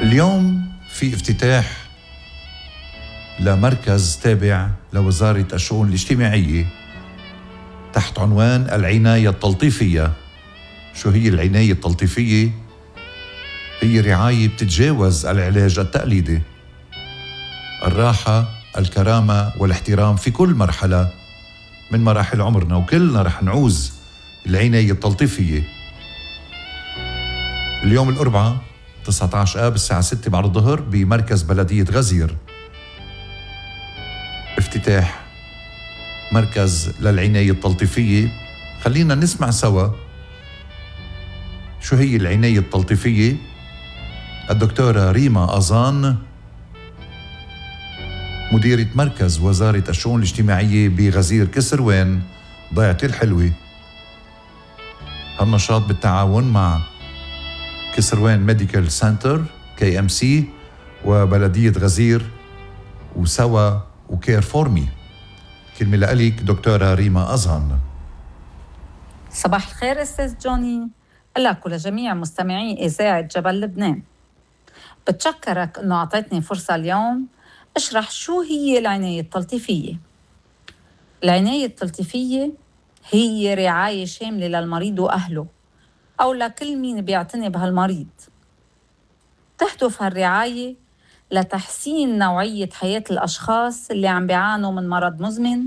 اليوم في افتتاح لمركز تابع لوزارة الشؤون الاجتماعية تحت عنوان العناية التلطيفية. شو هي العناية التلطيفية؟ هي رعاية بتتجاوز العلاج التقليدي، الراحة، الكرامة والاحترام في كل مرحلة من مراحل عمرنا، وكلنا رح نعوز العناية التلطيفية. اليوم الأربعاء 19 آب الساعة 6 بعد الظهر بمركز بلدية غزير افتتاح مركز للعناية التلطيفية. خلينا نسمع سوا شو هي العناية التلطيفية. الدكتورة ريما أزان مديرة مركز وزارة الشؤون الاجتماعية بغزير كسروان ضيعة الحلوة. هالنشاط بالتعاون مع كسروان ميديكال سنتر KMC وبلدية غزير وسوا وكير فورمي. كلمة لأليك دكتورة ريما أزان. صباح الخير أستاذ جوني، لك ولجميع مستمعي إذاعة جبل لبنان. بتشكرك أنه أعطيتني فرصة اليوم أشرح شو هي العناية التلطيفية. العناية التلطيفية هي رعاية شاملة للمريض وأهله أو لكل مين بيعتني بهالمريض. تهدف هالرعاية لتحسين نوعية حياة الأشخاص اللي عم بيعانوا من مرض مزمن،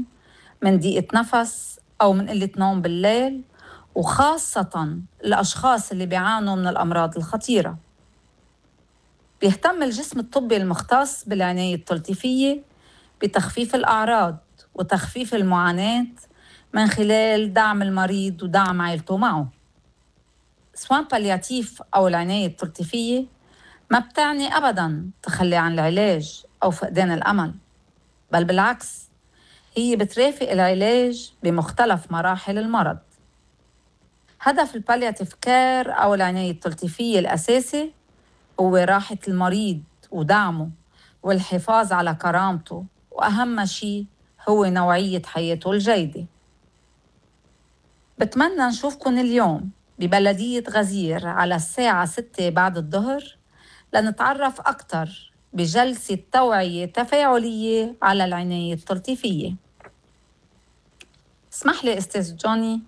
من ضيقة نفس أو من قلة نوم بالليل، وخاصة الأشخاص اللي بيعانوا من الأمراض الخطيرة. بيهتم الجسم الطبي المختص بالعناية التلطيفية بتخفيف الأعراض وتخفيف المعاناة من خلال دعم المريض ودعم عائلته معه. سوان بالياتيف أو العناية التلطيفية ما بتعني أبداً تخلي عن العلاج أو فقدان الأمل، بل بالعكس هي بترافق العلاج بمختلف مراحل المرض. هدف البالياتيف كير أو العناية التلطيفية الأساسي هو راحة المريض ودعمه والحفاظ على كرامته، وأهم شيء هو نوعية حياته الجيدة. بتمنى نشوفكن اليوم ببلدية غزير على الساعة 6 بعد الظهر لنتعرف أكثر بجلسة توعية تفاعلية على العناية التلطيفية. اسمح لي أستاذ جوني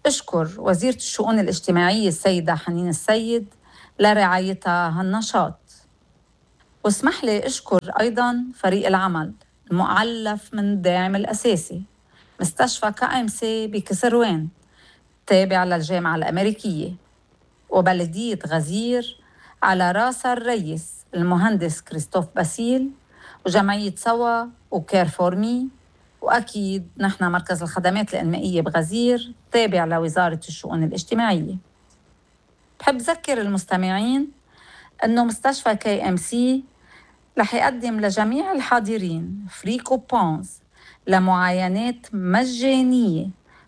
أشكر وزيرة الشؤون الاجتماعية السيدة حنين السيد لرعايتها هالنشاط، واسمح لي أشكر أيضاً فريق العمل المؤلف من الداعم الأساسي مستشفى KMC بكسروان تابع للجامعة الأمريكية، وبلدية غزير على راس الرئيس المهندس كريستوف باسيل، وجمعية سوا وكير فورمي، وأكيد نحن مركز الخدمات الإنمائية بغزير تابع لوزارة الشؤون الاجتماعية. بحب أذكر المستمعين أنه مستشفى KMC رح يقدم لجميع الحاضرين فري كوبونز لمعاينات مجانية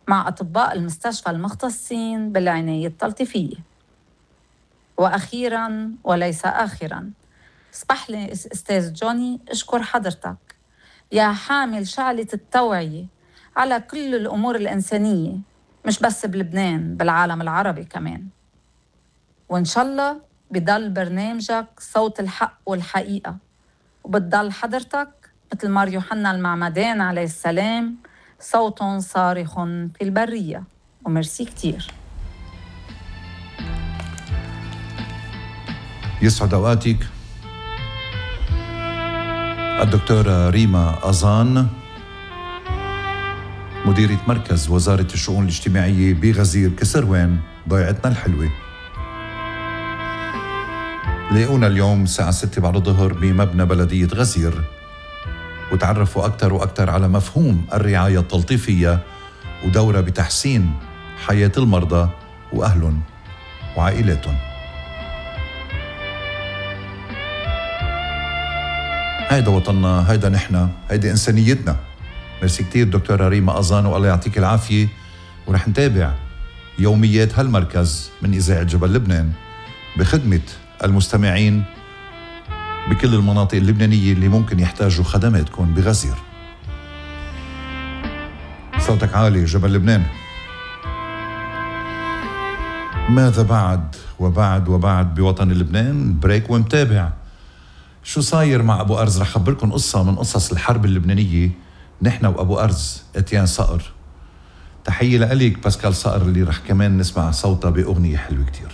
مع أطباء المستشفى المختصين بالعناية التلطيفية. وأخيراً وليس آخراً، اسمح لي أستاذ جوني أشكر حضرتك يا حامل شعلة التوعية على كل الأمور الإنسانية، مش بس بلبنان، بالعالم العربي كمان. وإن شاء الله بضل برنامجك صوت الحق والحقيقة، وبتضل حضرتك مثل مار يوحنا المعمدان عليه السلام صوت صارخ في البرية. وميرسي كتير. يسعد أوقاتك الدكتورة ريما أزان مديرة مركز وزارة الشؤون الاجتماعية بغزير كسروان ضيعتنا الحلوة. لاقونا اليوم الساعة 6 بعد الظهر بمبنى بلدية غزير وتعرفوا أكثر وأكثر على مفهوم الرعاية التلطيفية ودورها بتحسين حياة المرضى وأهلهم وعائلاتهم. هيدا وطننا، هيدا نحن، هيدا إنسانيتنا. ميرسي كتير دكتورة ريما أزان، والله يعطيك العافية. ورح نتابع يوميات هالمركز من إذاعة جبل لبنان بخدمة المستمعين بكل المناطق اللبنانية اللي ممكن يحتاجوا خدماتكم بغزير. صوتك عالي جبل لبنان. ماذا بعد وبعد بوطن لبنان؟ بريك ومتابع شو صاير مع أبو أرز. رح خبركن قصة من قصص الحرب اللبنانية، نحن وأبو أرز اتيان صقر. تحية لأليك باسكال صقر اللي رح كمان نسمع صوتها بأغنية حلوة كتير،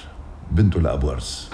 بنته لأبو أرز.